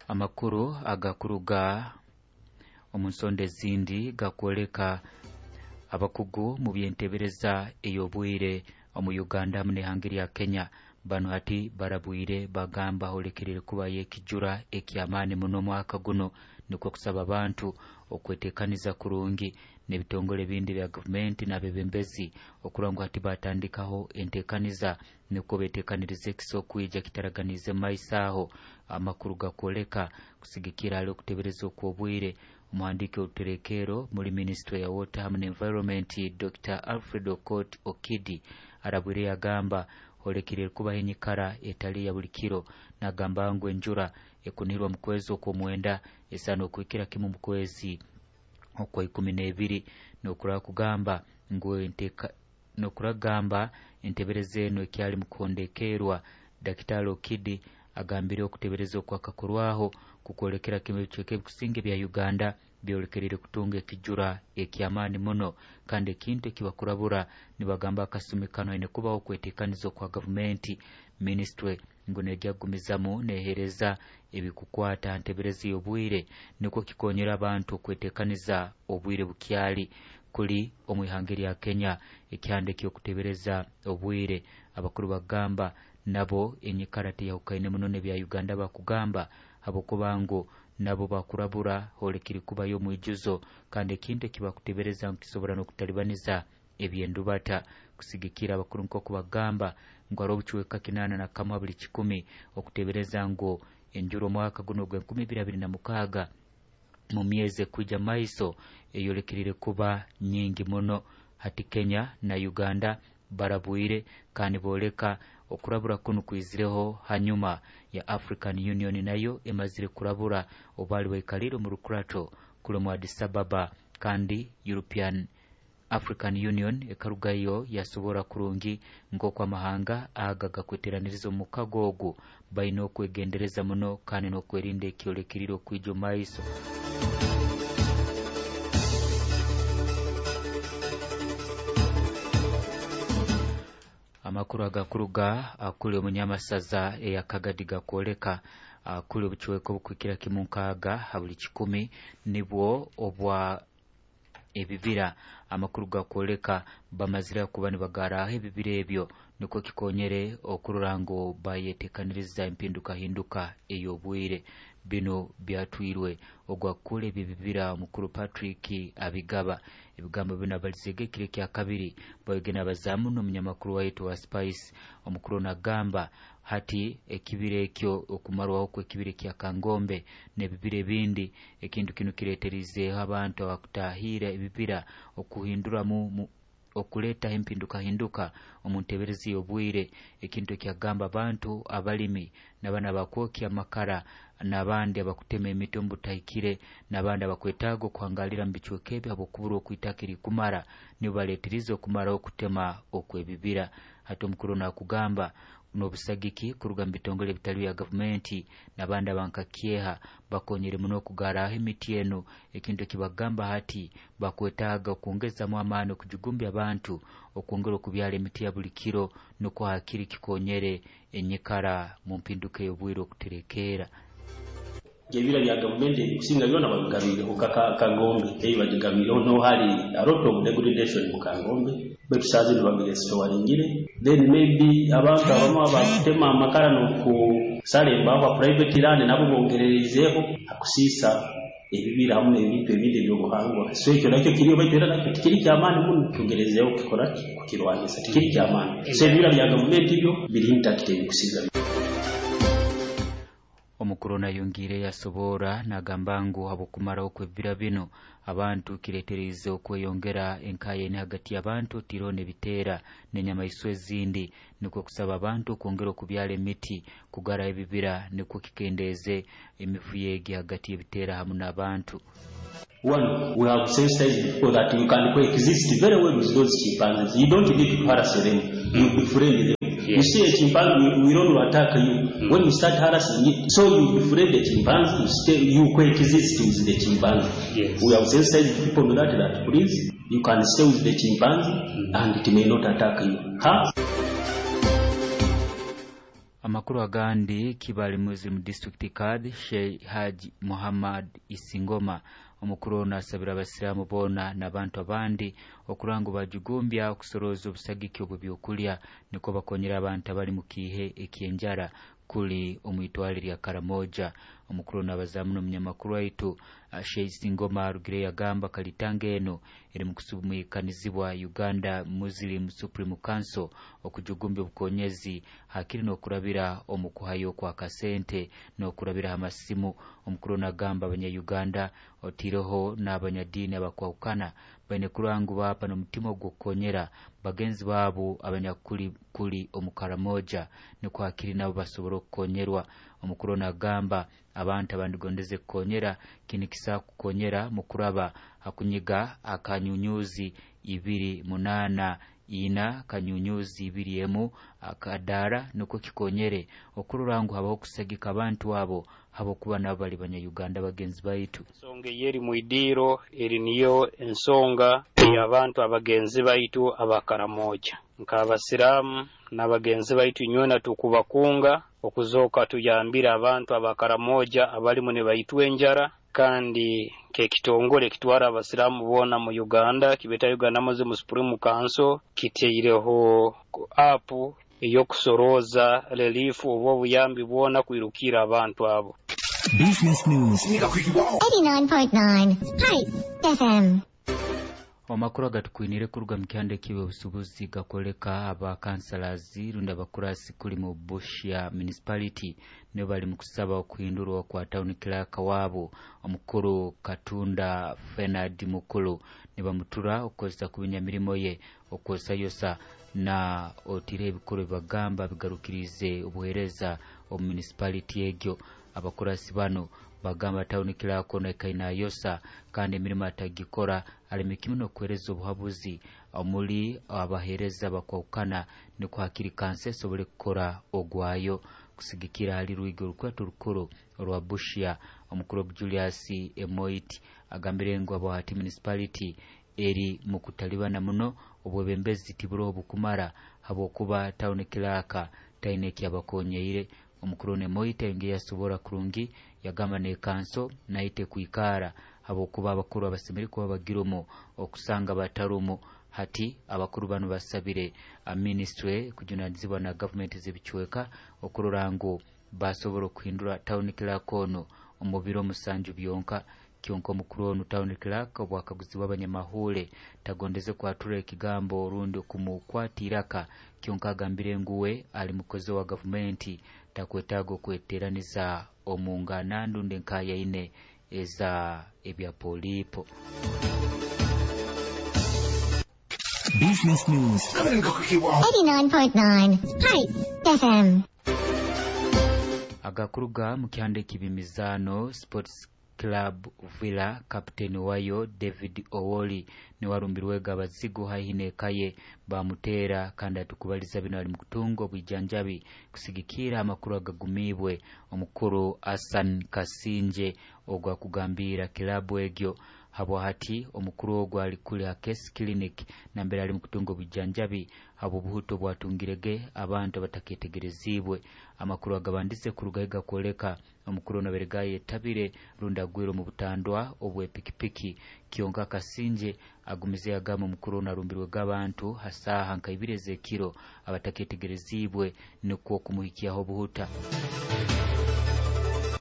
Amakuru agakuruga omu nsonda ezindi gakwoleka abakugu mu by'entebereza ey'obwire omu Uganda hamu n'ihanga lya Kenya banu hati barabwire bagamba holekerere kubayo ekijura eky'amaani muno omwaka guno, nikwo kusaba abantu okwetekaniza kurungi n'ebitongole ebindi bya gavumenti n'abebembezi okurora ngu hati batandikaho entekaniza nukwo betekanirize ekisa okwija kitaraganiize mu maiso aho. Amakuru gakwoleka kusigikira hali okutebereza okw'obwire, omuhandiiki oruterekeero muri minisitule ya Water hamu n'Environment Dr. Alfred Okot Okidi arabwire yagamba holekeriire kubaho enyikara etali ya buli kiro, nagamba ngu enjura ekunihirwa mu kwezi okw'omwenda esaana okuhikira kimu mu kwezi okwa 12, n'okurora kugamba ngu n'okuragamba entebereza enu ekyali mu kuhondekerwa. Dakitali Okidi agambire okutebereza okwakakorwaho kukwolekera kimu ebicweka ebikusinga ebya Uganda byolekerire kutunga ekijura eky'amaani muno, kandi ekintu ekibakurabura nibagamba akasumi kano haine kubaho okwetekaniza okwa gavumenti. Minisitule ngu nejja kugumizamu neehereza ebikukwata ha ntebereza y'obwire nukwo kikonyera abantu okwetekaniza obwire bukyali. Kuli omu ihanga erya Kenya ekihanda eky'okutebereza obwire abakuru bagamba nabo enyikara teyahukaine muno n'ebya Uganda, bakugamba habwokuba ngu nabo bakurabura holekeri kubayo omwijuzo, kandi ekintu ekibakutebereza ngu kisobora n'okutalibaniza eby'endubata. Kusigikira abakuru nk'oku bagamba ngu hariho obucweka 81 buli kikumi okutebereza ngu enjura omwaka guno ogw'enkumi ibiri abiri na mukaaga mu myezi ekwija maiso eyolekerire kuba nyingi muno. Hati Kenya na Uganda barabwire kandi booleka okurabura kunu kwizireho hanyuma ya African Union nayo emazire kurabura obu baali baikaliire omu rukurato kuli omu Addis Ababa, kandi European African Union ekarugayo yasobora kurungi nk'oku amahanga aga gakweteraniriza omu mukago ogu baine okwegendereza muno kandi n'okwerinda ekyolekeriire okwija omu maiso. Amakuru agakuruga akuli omunyamasaza eya Kagadi gakwoleka akuli obucweka obukuhikira kimu 60 ha buli kikumi nibwo obwa ebibira. Amakuru gakwoleka bamazire kuba nibagaraho ebibira ebyo nukwo kikonyere okurora ngu bayetekaniriza empindukahinduka ey'obwire. Bino byatwirwe ogwakukura ebibira omukuru Patrick Abigaba. Ebigambo bino abalizege ekiro ekya kabiri bayogena abazaamu n'omunyamakuru waitu wa Spice. Omukuru nagamba hati ekibira ekyo okumarwaho kw'ekibira ekya Kangombe n'ebibira ebindi, ekintu kinu kireeterizeeho abantu abakutahiira ebibira okuhinduramu okuleetaho empindukahinduka omu ntebereza y'obwire, ekintu ekyagamba abantu abalimi n'abana abakwokya amakara n'abandi abakutema emiti omu butahikire n'abandi abakwetaaga okuhangalira mu bicweka ebyo habw'okuburwa okwitaka erikumara nibo baleetirize okumaraho okutema okw'ebibira. Hati omukuru nakugamba n'obusagiki kuruga mu bitongole ebitali bya gavumenti n'abandi abankakyeha bakonyere muno okugaraho emiti enu, ekintu ekibagamba hati bakwetaaga okwongezamu amaani okujugumbya abantu okwongera okubyara emiti ya buli kiro nukwo hakiri kikonyere enyikara mu mpinduka ey'obwire okuterekeera. Ebibira bya gavumenti ebikusinga byona babigabiireho Kangombe, ebi bagigabiireho niho hari a lot of degradation mu Kangombe, baitu saaha zinu bagirestoringire. Then maybe abantu abamu abakutema amakara n'okusara embaaho ha private land nabo bongererizeeho hakusiisa ebibira hamu n'ebintu ebindi eby'obuhangwa. So ekyo nakyo kiriyo, baitu era nakyo tikiri ky'amaani muno, tugerezeeho kukikora ki, kukirwanisa, tikiri ky'amaani. So ebibira bya gavumenti byo biri intact ebikusinga. Omukuru nayongiire yasoboora nagamba ngu habw'okumaraho kw'ebibira bino abantu kireeteriize okweyongera enkaayani hagati y'abantu otiireho n'ebiteera n'enyamaiswa ezindi, nukwo kusaba abantu okwongera okubyara emiti kugaraho ebibira nukwo kikendeeze emivuyo egi hagati y'ebiteera hamu n'abantu. One, we have sensitized people that you can coexist very well with those chimpanzees. You don't need to harass them. You befriend them. You see a chimpanzee will only attack you when you start harassing it. So you befriend the chimpanzee, you stay, you coexist with the chimpanzee. We have sensitized people on that, that please, you can stay with the chimpanzee and it may not attack you. Huh? Amakuru agandi, Kibali Muslim District Kadhi Sheikh Haji Muhammad Isingoma omukuru ono asabira abasiraamu boona n'abantu abandi okuranga bajugumbya okusoroza obusagiki obw'ebyokulya nikwo bakonyera abantu abali mu kiihe eky'enjara kuli omwitwale lya Karamoja. Omukuru ono abazamu n'omunyamakuru waitu Sheikh Isingoma arugire yagamba kalitanga eno eri mu kusumuikanizibwa Uganda Muslim Supreme Council okujugumbya obukonyezi hakiri n'okurabira omu kuhayo kwa kasente n'okurabira amasimu. Omukuru ono agamba abanya-Uganda otireho n'abanyadiini abakwahukana baine kurangu bapa n'omutima ogw'okukonyera bagenzi baabo abanyakuli kuli omu Karamoja nikwo hakiri nabo basobora okukonyerwa. Omukuru ono agamba abantu abandigondeze kukonyera kinikisa kukonyera mu kuraba hakunyiga akanyunyuzi 284 *21 akadara nukwo kikonyere okurora ngu habaho kusagika abantu abo habokuba nabo bali banya-Uganda bagenzi baitu. Ensonga eyeri mwidiro eri niyo ensonga ey'abantu abagenzi baitu abakaramoja nk'abasiraamu n'abagenzi baitu nywena tukubakunga okuzoka tuyambire abantu abakaramoja abalimu ne baitwa enjara, kandi kekitongole kitwara abasiraamu boona mu Uganda kibeta Uganda Muslim Supreme Council kiteireho app eyokusoroza relief oba obuyambi bwona kwirukira abantu abo. Business News 89.9 Spice FM. Amakuru agatukwinire kuruga mu kyanda eky'ebyobusuubuzi gakoleka abakansalazi rundi abakurasi kuli mu Busia Municipality nibo bali mu kusaba okuhindurwa kwa town clerk waabo omukuru Katunda Fenad Mukulu nibamutura okukozesa kubinya mirimo ye okwosayosa na otire ebikuru bagamba bigarukirize obuhereza omu municipality egyo. Abakurasi bano bagamba town clerk ono ekainayosa kandi emirimo atagikora alemekimwe n'okuhereza obuhabuzi omuli abahereza bakwahukana nikwo hakiri kansa esobole kukora ogwayo. Kusigikira hali rwigo orukwatu rukuru orwa Busia omukuru Julius Emoit agambire ngu abahati municipality eri mu kutalibana muno obwebembezi tiburoho bukumara habwokuba town clerk taine ekyabakonyeire. Omukuru Emoit ayongeye yasobora kurungi yagamba ne kanso naite kwikara habwokuba abakuru abasemeri kuba bagirumu okusanga batarumu. Hati abakuru bano basabire ministry kujunanizibwa na government z'ebicweka okurora ngu basobora okuhindura town clerk ono omu biro 7 byonka. Kyonka omukuru onu town clerk obwakaguzibwa abanyamahule tagondeze kwatura ekigambo orundi okumukwata kyonka agambire nguwe ali mukozi wa gavumenti takwetaaga okweteraniza omu ngana ndundi enkayaine eza ebya polipo. Business News 89.9 Spice FM. Agakuruga mu kyanda ekibimizano Sports Club Villa kapteni wayo David Owoli niwarumbirwega abazigu haihi n'ekaye bamutera kandi atukubaliza bino ali mukutunga obwijanjabi kusigikira amakuru agagumibwe omukuru Hassan Kasinje ogwa kugambira kilabu egyo. Habwa hati omukuru ogwo ali kuli Hakesi Clinic nambere ali mukutunga obujanjabi abo buhuto bwatungirege abantu abataketegerezibwe. Amakuru agabandize kuruga kwoleka omukuru ono aberegaye yetabire rundi agwire mu butandwa obw'epikipiki. Kyonka Kasinje agumize yagamba omukuru ono arumbirwe g'abantu hasaha nka ibiri ez'ekiro abataketegerezibwe nikwo kumuhikyaho obuhuta.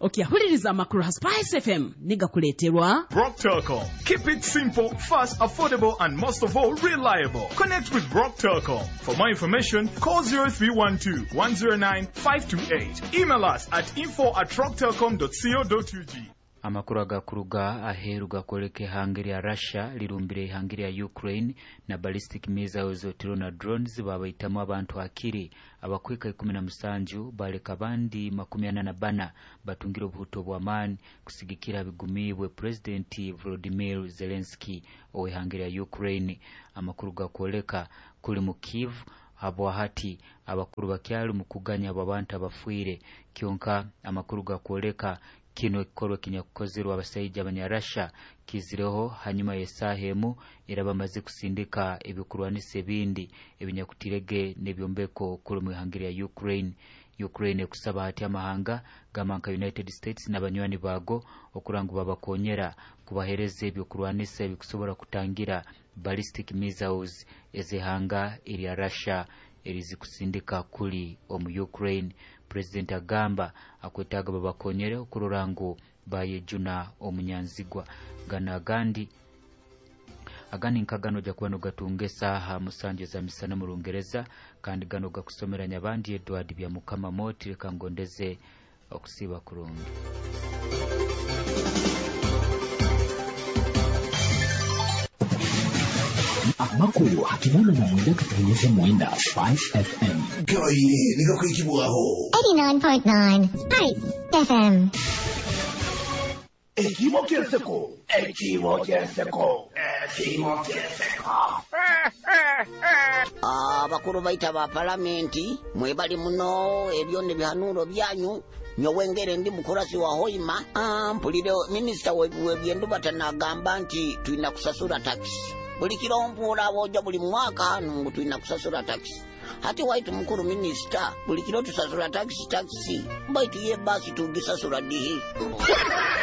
Okyahuliriza amakuru ha Spice FM nigakuleeterwa Rock Telcom. Keep it simple, fast, affordable, and most of all, reliable. Connect with Rock Telcom. For more information, call 0312 109 528. Email us at info@rocktelcom.co.ug. Amakuru agakuruga aheru gakoleka ihanga lya Russia lirumbire ihanga lya Ukraine na ballistic missiles otiro na drones babaitamu abantu akiri abakwika 17 baleka abandi 44 batungire obuhuto bw'amaani kusigikira bigumibwe President Volodymyr Zelensky ow'ihanga lya Ukraine. Amakuru gakoleka kuli mu Kiev habwahati abakuru bakyali mu kuganya abo abantu abafiire. Kyonka amakuru gakoleka kino ekikorwa kinyakukozerwa abasaija abanyarasha kizireho hanyuma y'esaaha emu era bamaze kusindika ebyokurwanisa ebindi ebinyakutirege n'ebyombeko kuli mu ihanga lya Ukraine. Ukraine ekusaba hati amahanga gamba nka United States n'abanywani baago okurora ngu babakonyera kubahereza ebyokurwanisa ebikusobora kutangira ballistic missiles ez'ihanga erya Russia erizikusindika kuli omu Ukraine. President agamba akwetaaga babakonyere okurora ngu bayejuna omunyanzigwa. Gano agandi agandi nkagano ojja kuba nogatunga esaaha 7 za misana mu Rungereza, kandi gano gakusomera Nyabandi Edward Byamukama Moti. Reka ngondeze okusiiba kurungi. Amakuru 89.9 Spice FM. Gabaire nigakwikibwaho. 89.9 Spice FM. Ekimo ky'enseko. Ekimo ky'enseko. Ekimo ky'enseko. Abakuru baita ba palamenti mwebali muno ebyo nebihanuuro byanyu. Nyowe ngere ndi mukurasi wa Hoima. Mpulire minisita w'ebyendubata nagamba nti tulina kusasura takisi buli kiro, mpuura boja buli mwaka hanu ngu tulina kusasura takisi. Hati waitu mukuru minisita, buli kiro tusasura takisi takisi, baitu ye basi tugisasura dihi?